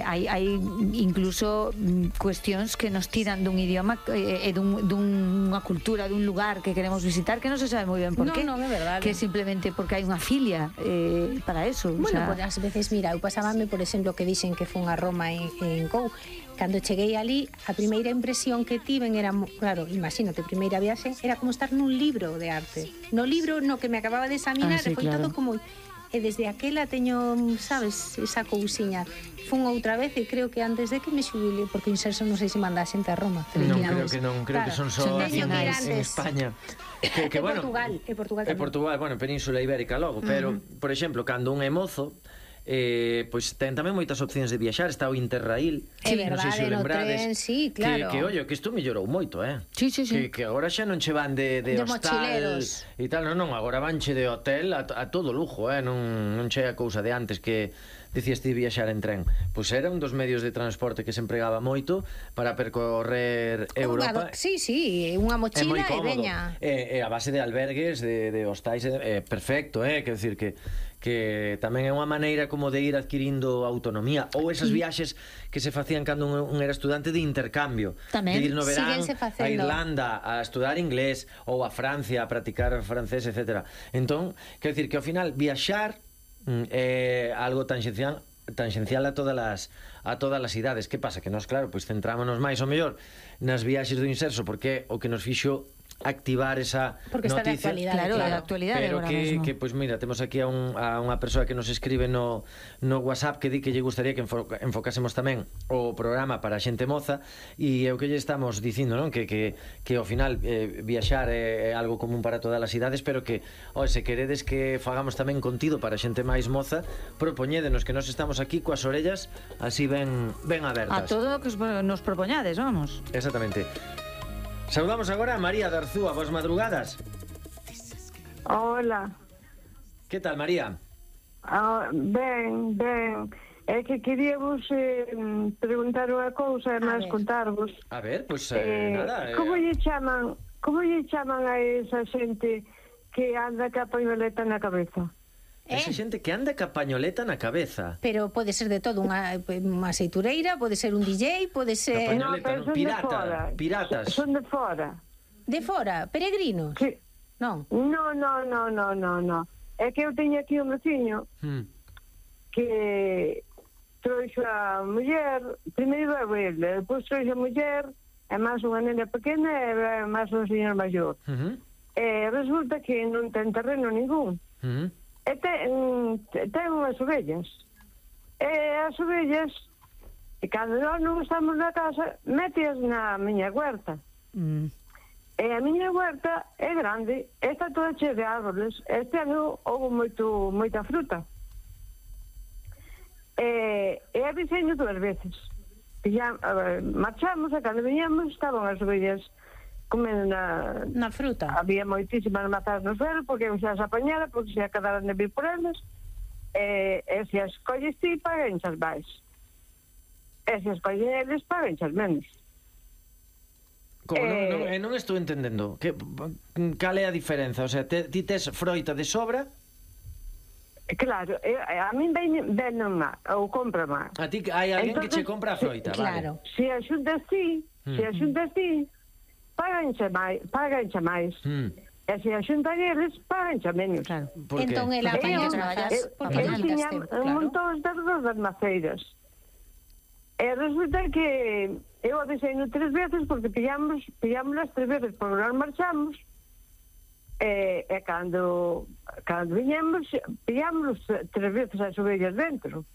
hai incluso cuestións que nos tiran dun idioma e dunha cultura, dun lugar que queremos visitar que non se sabe moi ben por qué. Non, é verdade. Que simplemente porque hai unha filia para eso. Bueno, pues ás veces, mira, eu pasábame, por exemplo, que dixen que fun a Roma en Cou. Cando cheguei ali, a primeira impresión que tiven era, claro, imagínate, primeira viaxe, era como estar nun libro de arte. No libro no que me acababa de examinar, sí, foi claro. todo como... E desde aquela teño, sabes, esa cousiña. Fun outra vez e creo que antes de que me xubile, porque Inserso non sei se manda a xente a Roma. Non, creo que non, creo que son só nacionais en España. Que bueno, Portugal, bueno, Península Ibérica logo, pero, por exemplo, cando un é mozo, pois ten tamén moitas opcións de viaxar. Está o Interrail, non sei se o lembrades, tren, sí, claro. Que ollo, que isto mellorou moito, Sí. Que agora xa non che van de hostal e tal, non, agora vanche de hotel a todo lujo, non che a cousa de antes que dicías ti viaxar en tren. Pois era un dos medios de transporte que se empregaba moito para percorrer Europa. Sí, unha mochila e veña. E a base de albergues, de hostais, perfecto, quero dicir que tamén é unha maneira como de ir adquirindo autonomía, ou esas viaxes que se facían cando un era estudante de intercambio, tamén. de ir no verán a Irlanda a estudar inglés ou a Francia a practicar francés, etc. Entón, quero dicir que ao final viaxar é algo tangencial a todas as idades. Que pasa? Que nós, claro, pois centrámonos máis ou mellor nas viaxes do Inserso, porque o que nos fixo activar esa porque noticia, está de actualidade, pero que pois mira, temos aquí a unha persoa que nos escribe no WhatsApp que di que lle gustaría que enfocásemos tamén o programa para a xente moza, e é o que lle estamos dicindo, non? Que ao final viaxar é algo común para todas as idades, pero que, se queredes que fagamos tamén contido para a xente máis moza, propoñédenos, que nós estamos aquí coas orellas así ben abertas. A todo o que nos propoñades, vamos. Exactamente. Saudamos agora a María de Arzúa. Boas madrugadas. Hola. Que tal, María? Ben. É que queríamos preguntar unha cousa e máis contarvos. A ver, pois nada. Como lle chaman a esa xente que anda ca pañoleta na cabeza? Esa xente que anda ca pañoleta na cabeza. Pero pode ser de todo, unha aceitureira, pode ser un DJ, pode ser... Piratas. Son de fora. De fora? Peregrinos? Sí. Non. No. É que eu teño aquí un veciño que trouxo a muller, primeiro é ele, depois trouxo a muller, é máis unha nena pequena e máis un señor maior. E resulta que non ten terreno ningún. E ten unhas ovellas. E as ovellas, cando nós non estamos na casa, méteas na miña huerta. E a miña huerta é grande, está toda chea de árboles. Este ano houve moita fruta. E aviseño 2 veces. Marchamos e cando viñamos estaban as ovellas comendo na fruta. Había moitísimas mazás no suelo porque xa as apañara, porque xa quedaran de vir por elas, e se as colles ti paganchas máis, e se as colles eles paganchas menos. Como non estou entendendo cal é a diferenza, o sea, ti tes froita de sobra. Claro, a min ven má ou compra má. A ti hai alguén que che compra a froita, claro. Vale. Se a xuntas ti pagancha máis. E se a xuntan eles, pagancha menos. Claro. Entón ela apaña as mazas porque eu tiña un montón das maceiras. E resulta que eu aviseino 3 veces porque pillámoslas 3 veces porque nós marchamos e cando viñemos pillámoslos 3 veces as ovellas dentro.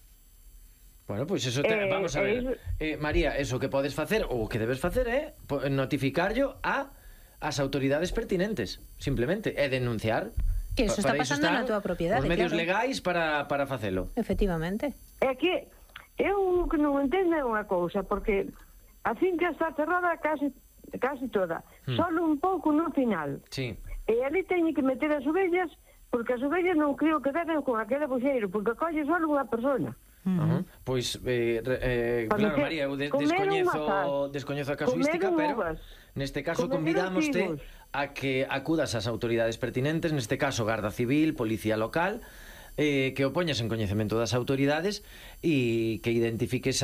Bueno, pois eso vamos a ver. María, eso que podes facer ou que debes facer é notificarlo ás autoridades pertinentes, simplemente, e denunciar que eso está pasando na túa propiedade. Os medios legais para facelo. Efectivamente. É que eu que non entendo é unha cousa, porque a finca está cerrada casi toda, solo un pouco no final. Sí. E ali teñen que meter as ovellas, porque as ovellas non creo que deben con aquele buxeiro, porque colle solo unha persona. Pois claro, María, eu descoñezo a casuística, pero neste caso convidámoste a que acudas ás autoridades pertinentes, neste caso Garda Civil, Policía Local, que o poñas en coñecemento das autoridades e que identifiques